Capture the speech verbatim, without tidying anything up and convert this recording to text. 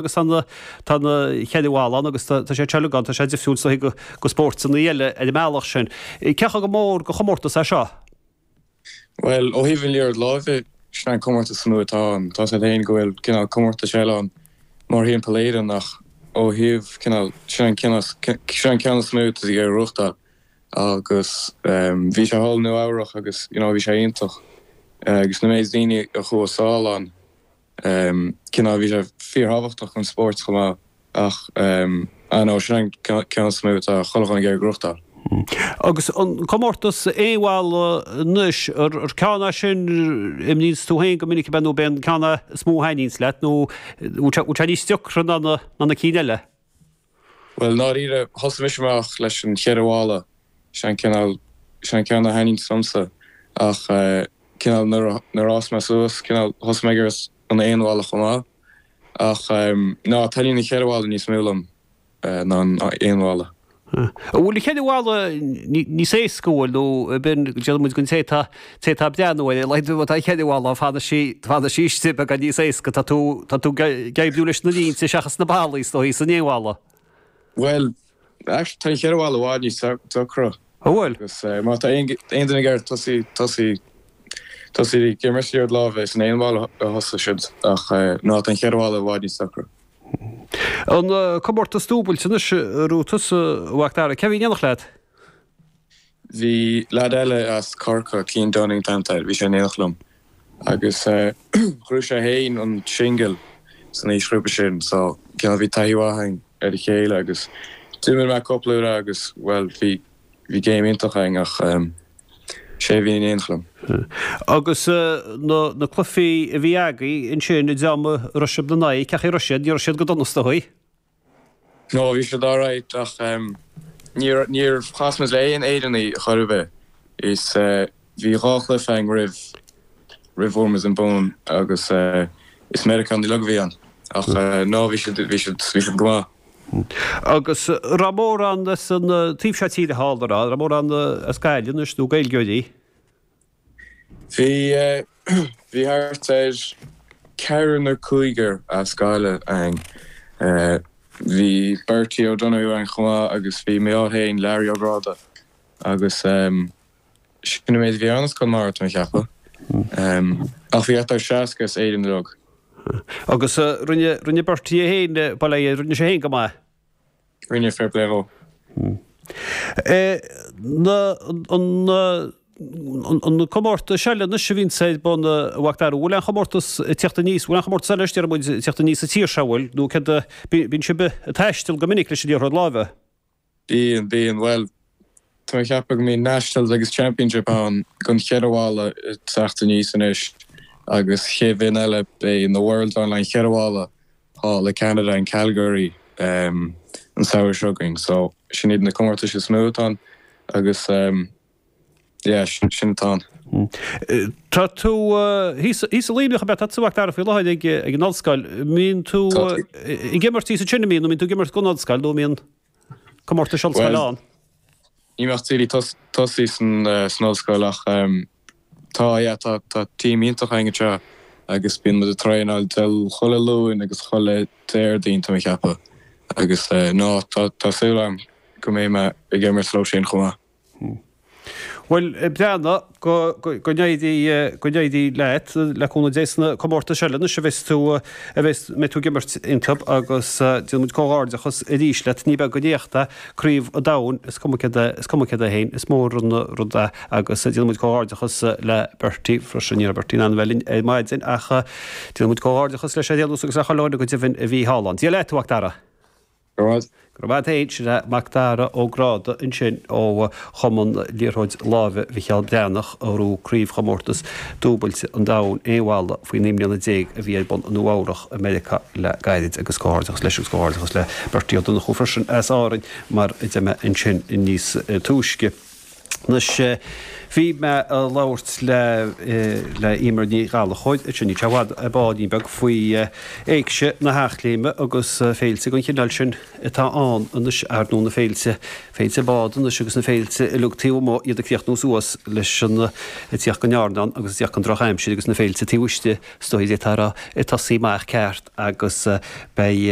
agus tá na tá na cheithre bhalla ann agus tá sé teilgeán, tá sé difriúil is dóigh go spórtanna eile ar an mbealach sin. Cé chomh mór go chomórtas é seo? Bhuel, ó thaobh an liathróid láimhe, sin an comórtas is mó atá ann. Tá a fhios agat féin go bhfuil cineál comórtais eile ann mórthimpeall Éireann ach ó thaobh cineál, sin an ceann sin an ceann is mó atá ag reáchtáil agus bhí sé thall i Nua Eabhrach agus you know bhí sé iontach agus na méid daoine a chuaigh sall ann cineál bhí sé fíorthábhachtach don spórt chomh maith ach ah no sin an ceann is mó atá chuile dhuine ag iarraidh gnóthachtáil. Agus an comórtas aon bhalla anois, ar ceann é sin a imríonns tú féin go minic ab ea nó ab é an ceann é is mó a thaitníonns leat nó bhfuil sé níos deacra ná na cinn eile? Bhuel, ndáiríre, thosaigh mise amach leis an cheithre bhalla, sin an cineál, sin an ceann a thaitníonns liomsa ach cineál nuair a, nuair a fhás mé suas, cineál thosaigh mé ag iarraidh an aon bhalla chomh maith ach ná, taitníonn an cheithre bhalla níos mó liom ná an aon bhalla. An bhfuil an cheithre bhalla níos éasca, an bhfuil, nó b'in, déarfaidh muid don té atá, té atá ag breathnú air, a laghad atá an cheithre bhalla, fanann sí, fanann sí istigh beagán níos éasca, tá tú, tá tú ag oibriú leis na línte seachas na ballaí is dóigh san aon bhalla. Bhuel, actually tá an cheithre bhalla i bhfad níos deacra. An bhfuil? Agus má tá aon duine ag iarraidh tosaí, tosaí, tosaí ag imirt liathróid láimhe is san aon bhalla a thosódh siad ach ná tá an cheithre bhalla i bhfad níos deacra. An comórtas dúbailte anois a raibh tusa, a Mhac Dara, cé a bhí in éineacht leat? Bhí leaid eile as Corcaigh, Cian Dunning an t-ainm atá air, bhí sé in éineacht liom agus ghnóthaigh sé féin an singil san aoisghrúpa sin so cineál bhí taithí mhaith againn ar a chéile agus d'imir mé cúpla uair agus bhuel bhí bhí game iontach againn ach sé a bhí in éineacht liom. Agus na na cluichí a bhí agaibh ansin an dream a raibh sibh ina n-aghaidh, cén chaoi a raibh siad? Ní raibh siad go dona is dóigh? No, bhí siad alright ach níor níor chas muid le aon Éireannaigh chor ar bith. Is bhí dhá chluiche againn roimh roimh bhfuair muid an bonn agus is Meiriceánaigh uilig a bhí ann. Ach no, bhí siad bhí siad bhí siad go maith. Agus raibh mórán as an taobh seo tíre thall, an raibh? Raibh mórán as Gaillimh anois nó Gaeilgeoirí? Bhí bhí thart ar ceathrar nó cúigear as Gaillimh againn. Bhí Bertie O'Donoghue ann chomh maith agus bhí mé féin, Larry Ó Gráda agus sin an méid a bhí ann as Conamara tá mé ag ceapadh. Ach bhí thart ar seasca as Éirinn uilig. Agus rinne rinne Bertie é féin, bail ó Dhia air, rinne sé féin go maith. Rinne, fair play dhó. Na an an comórtas eile anois a bhíonns ar bun a Mhac Dara, bhfuil aon chomórtas ag teacht aníos, bhfuil aon chomórtas eile anois déarfaidh muid ag teacht aníos sa tír seo, bhfuil, nó céard a, bíonn sibh ag taisteal go minic leis an liathróid láimhe? Bíonn, bíonn, bhuel, tá mé ag ceapadh go mbíonn Nationals agus Championship ann don cheithre bhalla ag teacht aníos anois agus chéad bhliain eile beidh na Worlds ann le an cheithre bhalla thall i Canada in Calgary an samhradh seo chugainn so sin iad na comórtais is mó atá ann agus yeah sin sin atá ann. Tá tú thíos thíos i Luimneach ab ea? Tá tú a Mhac Dara faoi láthair ag ag an ollscoil. Mbíonn tú ag imirt thíos ansin an mbíonn nó mbíonn tú ag imirt don ollscoil nó mbíonn comórtais ollscoile Bhuel ann? ní bheadh daoine tosaí san san ollscoil ach tá yeah tá tá team iontach againn anseo agus bíonn muid ag traenáil del chuile Luan agus chuile Déardaoin tá mé ag ceapadh agus no tá tá súil agam go mbeidh mé ag imirt leo sin chomh maith. Bhuel, breathnaigh, go go n-éirí go n-éirí leat, le cúnamh Dé sna comórtais eile anois a bheas tú a bheas mbeidh tú ag imirt iontu agus déanann muid comhghairdeachas arís leat. Ní beag an éacht é Craobh an Domhain, is cuma céard é is cuma céard é féin, is mór an rud é agus déanann muid comhghairdeachas le Bertie freisin. Ní raibh Bertie in ann a bheith linn ar maidin ach déanann muid comhghairdeachas leis ar aon nós agus le chuile dhuine go deimhin a bhí thall ann. Dia leat, a Mhac Dara. Go raibh maith. Go raibh maith a't fhéin, sin é Mac Dara Ó Gráda ansin ó Chumann Liathróid Láimhe Mhicheál Breathnach a ghnóthaigh Craobhchomórtas Dúbailte an Domhain Aon Bhalla faoi naoi mbliana déag a bhí ar bun i Nua Eabhrach i Meiriceá le gairid agus comhghairdeachas leis agus comhghairdeachas le Bertie Ó Donnchú freisin as Árainn mar a deir mé ansin níos túisce. Anois bhí mé ag labhairt le le Emer Ní Ghallchóir ansin níl sé i bhfad ar ball beag faoi Éigse na hEachléime agus féilte den chineál sin atá ann anois ar ndóigh na féilte féilte bád anois agus na féilte uilig taobh amuigh iad ag críochnú suas leis an ag tíocht den airneán agus ag tíocht den drochaimsir agus na féilte taobh istigh is dóigh atá ag tosaí amach ceart agus beidh